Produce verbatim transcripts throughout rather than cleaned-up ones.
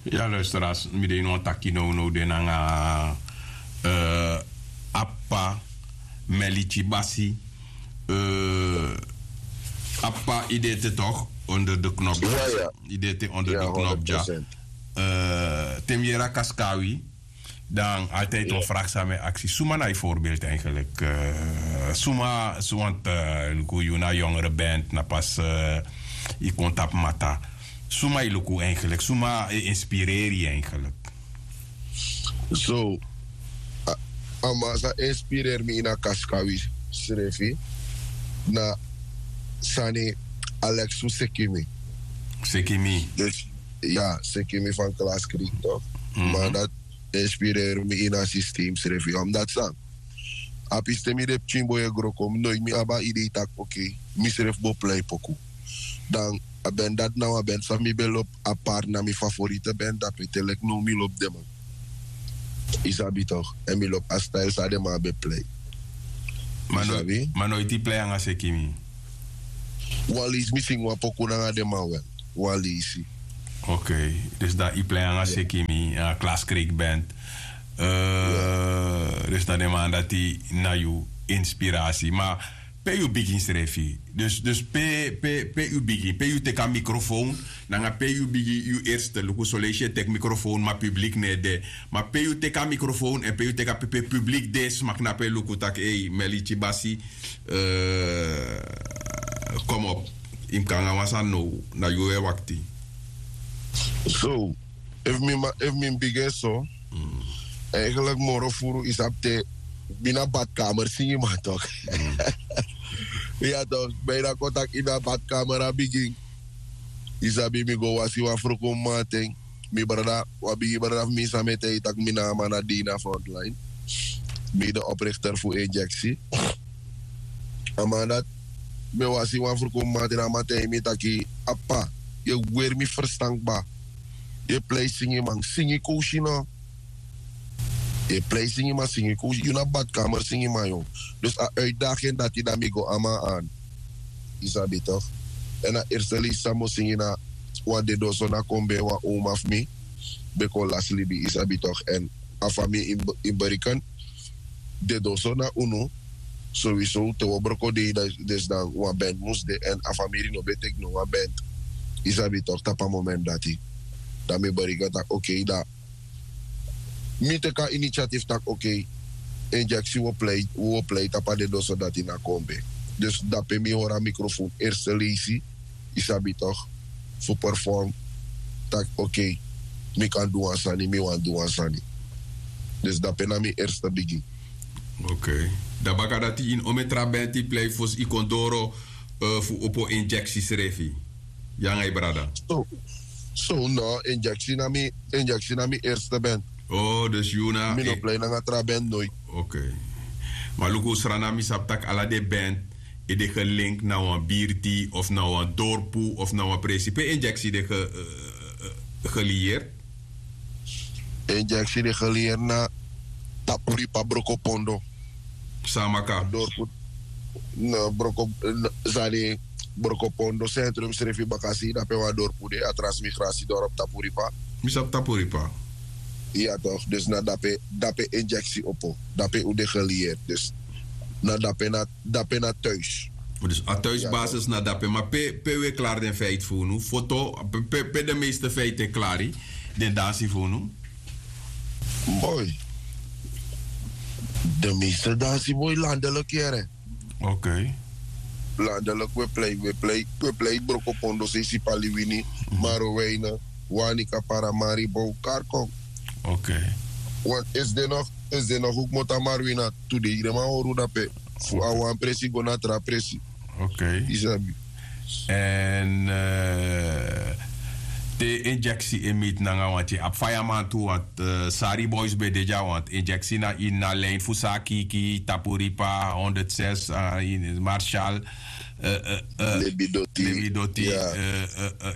Ya luisteras, mi de ini wan taki nownow de nanga, eh, apa, melici basi, eh, apa idete toch onder de knop. Idete onder de knop dya. Te mi yere a kaskawi, dan altijd wan vraag san mi e aksi, suma na yu voorbeeld eigenlijk? Eh, suma suma te luku yu na jongere band na pas, eh, yu kon tapu mata, suma yu luku eigenlijk, suma e inspireri yu eigenlijk? So, a man san inspireri mi ini a kaskawi srefi na sani, alexu sekimi. Sekimi. Dus ya, sekimi van klaskrik toch. Maar dat inspireri mi ini a systeem srefi omdat san, a piste mi de pikin boi e gro kon mi noit mi abi a idei taki oké, mi srefi bo plei poku. Dan a ben dati na wan ben san mi ben lobi, apart na mi favorite ben dape te leki now mi lobi den man. Yu sabi toch? Èn mi lobi a style san den man ben plei. Ma noiti plei nanga sekimi? Wan leisi mi singi wan poku nanga den man wel. Wan leisi. Oké. Dus dan yu plei nanga sekimi, a klaskrik band. Dus dan den man dati na yu inspirasi ma pe yu bigin srefi? Dus pe pe pe yu bigin pe yu teki a mikrofoon, nanga pe yu bigin yu erste luku soleisi e teki mikrofoon ma publik no e de. Ma pe yu teki a mikrofoon èn pe yu teki a pepe publik de sma knapu e luku tak' ei meliti basi. Komop, yu mus kon nanga wan sani now. Na yu e wakti. So, efu mi mus bigin so, eigenlik moro furu yu sabi te mi na badkamer singiman tok'. Ya tok', ben yu na kon taki ini a badkamer a bigin. Yu sabi mi go wasi wan fruku mamanten. Mi brada, wan bigi brada fu mi san mi e taigi tak' mi na a man na dei na frontline. Mi de oprichter fu injeksi. A man dati, mi e wasi wan fruku mamanten na a man taigi mi taki, apa, yu e weri mi ferstan kba. Yu e plei singiman singi kowsi no? Yu e plei singiman singi kowsi yu na badkamer singiman yu. Dus a uitdaging dati dan mi go a man an. Yu sabi tok'? Èn a erste leisi san mi o singi na wan dedoso na kon ben wan oma fu mi ben kon lasi libi, yu sabi tok'? Èn a famiri ini beriken, dedoso na unu. Sowisow te wi o broko dei, dus dan wan band mus de èn a famiri no ben teki no wan band. Yu sabi tok'? Tapu a moment dati dan mi beriken tak' okei dan mi teki a initiatif tak' okei, injeksi wi o plei tapu a dedoso dati na kombe. Dus dape mi hori a mikrofon erste leisi, yu sabi tok', fu perform tak' okei, mi kan du wan sani, mi wani du wan sani. Dus dape na mi erste bigin. Okei. Dan baka dati ini omen tra benti plei fosi yu kon doro fu opo injeksi srefi? Yu nanga yu brada? So no, injeksi na mi erste bent. Oh dus yu na mi no plei nanga tra bent noit. Okei. Ma luku srana mi sabi tak' ala den bent e de gelink na wan birti of na wan dorpu of na wan presi pe injeksi de geliyeert? Injeksi de geliyeert na tapuripa brokopondo. San a maka? Dorpu. Sani, brokopondo sentrum srefi bakasi dape wan dorpu de a transmigrasi dorpu tapuripa. Mi sabi tapuripa. Ya tok', dus na dape injeksi opo, dape un de geliyeerd dus na dape na thuis. Dus a thuisbasis na dape ma pe un e klari den feiti fu unu foto? Pe den meeste feiti e klari den dansi fu unu? Boi, den meeste dansi boi landelik yere. Okei. Landelik un e plei un e plei un e plei brokopondo seisi paliwini, maroweine, wanika paramari bow karkon. Okei. Want esi de no esi de no hukmota marwina, tudei den man hori un dape fu a wan presi go na tra presi. Okei. Yu sabi. Èn te injeksi e miti nanga wanti abi fayaman tu want sari boys ben de dya want injeksi na ini a lin fu san a kiki tapu ripa honderd zes, marshal, lebidoti,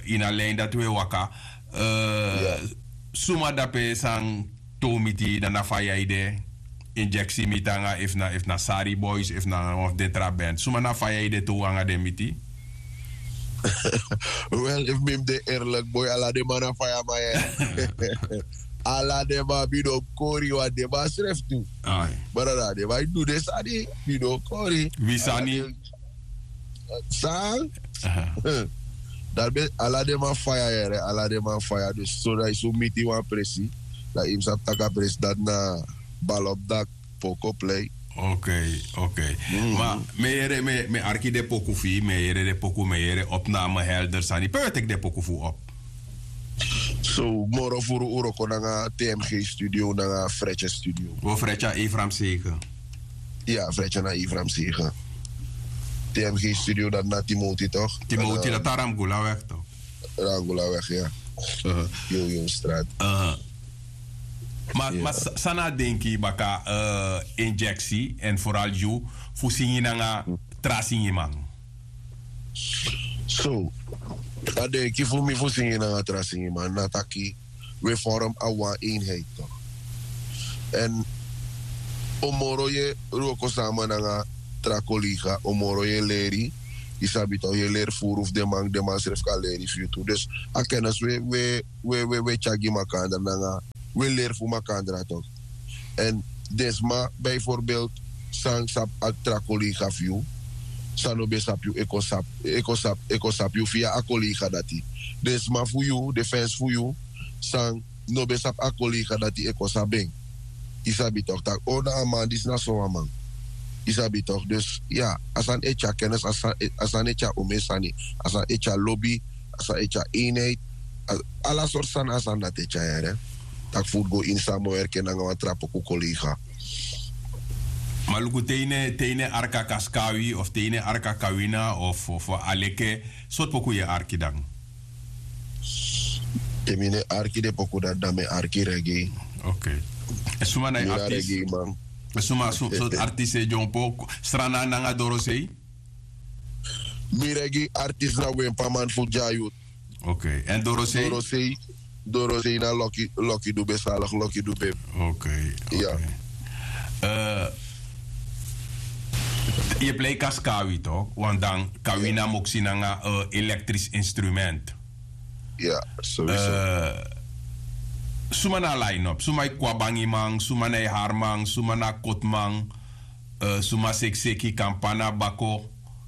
ini a lin dati un e waka. Suma dape san tow miti dan na fa yu e de? Injeksi miti nanga efu na sari boys efu na wan fu den tra band suma na fa yu e de tow nanga den miti? Wel, efu mi mus de erlik boi, ala den man na faya man ya. Ala den man mi no kori wan den man srefi tu. Brada, den man e du den sani, mi no kori. Wi sani. San? Dati ben ala den man faya yere, ala den man faya. Dus so dan yu su miti wan presi, dan yu mus sabi tak' a presi dati na balop dak poko plei. Ok. Ok. Ma mi e yere mi e arki den poku fu yu, mi e yere den poku mi e yere op na mi helder sani pe wi e teki den poku fu wi op. So moro furu un wroko nanga tmg studio nanga fretje studio. Wi o fretje a efram segen. Ya, fretje na efram segen. Tmg studio dati na timoti tok? Timoti dati na ramgula weg tok? Ramgula weg ya. Yoyong strat. Ma san na a denki baka injeksi èn foral yu fu singi nanga tra singiman? So a denki fu mi fu singi nanga tra singiman na taki wi e forum a wan einheit tok. Èn un moro yu e wroko sama nanga tra kolega, un moro yu e leri. Yu sabi tok, yu e leri furu fu den man, den man srefi kan leri fu yu tu. Dus a kennis wi e wi e tyari gi makandra nanga wi e leri fu makandra tok. Èn den sma bijvoorbeeld san sabi a tra kolega fu yu, san no ben sabi yu e kon sabi e kon sabi e kon sabi yu via a kolega dati. Den sma fu yu, den fens fu yu, san no ben sabi a kolega dati e kon sabi en. Yu sabi tok tak' o na a man disi na sowan man. Yu sabi tok, dus ya, a sani e tyari kennis, a sani e tyari omen sani. A sani e tyari lobi, a sani e tyari einheit. Ala sortu sani a sani dati e tyari yere. Tak' fu un go ini sama werki en nanga wan tra poku kolega. Ma luku te yu no e arki a kaskawi of te yu no e arki a kawina of a leke, sortu poku yu e arki dan? Te mi no e arki den poku dati dan mi e arki regi. Ok. Èn suma na yu artis? Suma sortu artis e dyompo? Strana nanga dorosei? Mi regi artis na wenpaman fu dyayut. Ok. Èn dorosei? Dorosei na loki du ben saligi loki du ben. Ok. Yu e plei kaskawi tok want dan kawina moksi nanga elektris instrument. Suma na a line up? Suma e kwabangiman, suma na e harman, suma na a kotman? Suma sekseki kampana bako,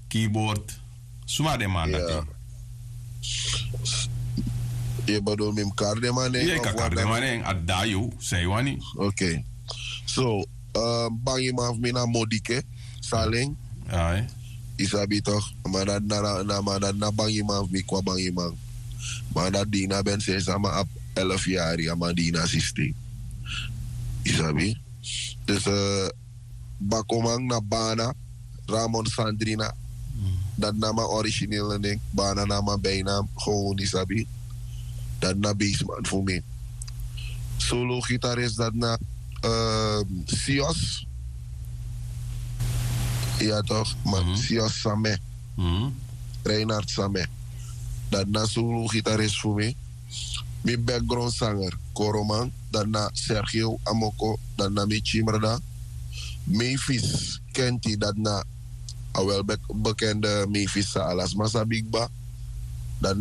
kibord? Suma den man dati? Yu e bedoel mi mus kari den man nen? Yu e kan kari den man nen a dda yu san yu wani. Ok. So bangiman fu mi na modike, salen. Yu sabi tok? A man dati na a man dati na bangiman fu mi kwa bangiman. Man dati dina ben sensama abi elf yari a man dina sisti. Yu sabi? Dus bakoman na bana, ramon sandrina. Dati na man originele nen. Bana na man bijna, gewon yu sabi. Dati na beisman fu mi. Solo gitaris dati na sios. Ya tok? Man sios same. Reinard same. Dati na solo gitaris fu mi. Mi background sanger koroman, dati na sergio amoko, dati na mi chimrda. Meifis kenti, dati na a wel bekende meifis san ala sma sabi kba. Dati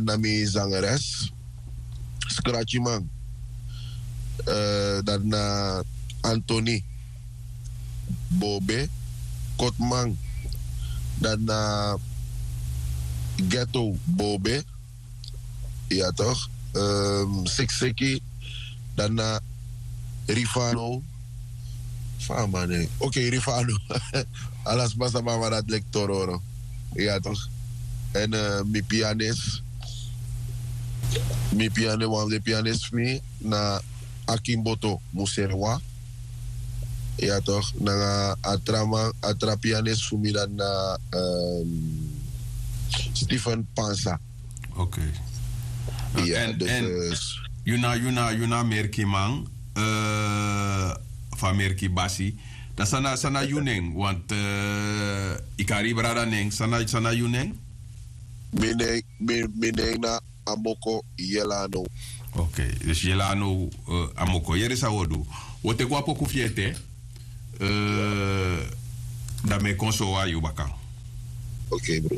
na mi zangeres. Skrachiman, dati na antoni bobe. Kotman, dati na ghetto bobe. Ya tok? Sekseki, dati na rifano. Fa a man nen? Ok, rifano. Ala sma sabi a man dati leki tororo. Ya tok? Èn mi pianis, mi pianis wan fu den pianis fu mi na akimboto muserwa. Ya tok? Nanga a tra man, a tra pianis fu mi dati na stephen pansa. Ok. Èn yu na yu na yu na merki man, fu a merki basi. Dan san na san na yu nen want yu kari yu brada nen san na yu nen? Mi nen na amoko yelano. Ok. Dus yelano, amoko yere san wi o du. Wi o teki wan poku fu yu ete. Dan mi e kon sowan yu baka. Ok bro.